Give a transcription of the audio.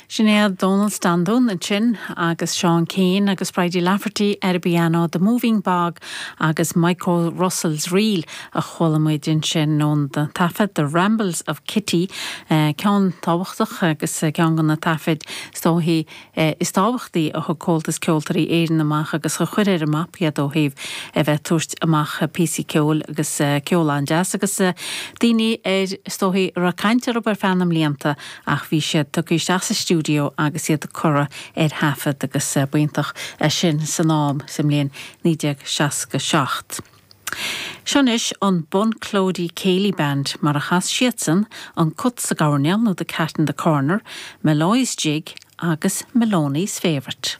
Sin é Dónal Standún ansin agus Seán Keane agus Bridie Lafferty ar an bpianó, The Moving Bog agus Michael Russell's Reel a chuala muid ansin ón taifead The Rambles of Kitty, ceann tábhachtach agus ceann de na taifid is dóichí is tábhachtaí a thug Comhaltas Ceoltóirí Éireann amach agus a chuir ar an mapa iad ó thaobh a bheith ag tabhairt amach píosaí ceoil agus ceol an-deas agus daoine ar is dóichí a raibh caint orthu ar feadh na mblianta ach bhí siad tugtha isteach sa stiúideo agus iad curtha ar thaifead agus b'iontach é sin san am sa mbliain 1967. Seo anois an Bunclody Céilí Band mar a chas siadsan An Cat sa gCoirnéal nó The Cat in the Corner, Molloy's Jig agus Maloney's Favourite.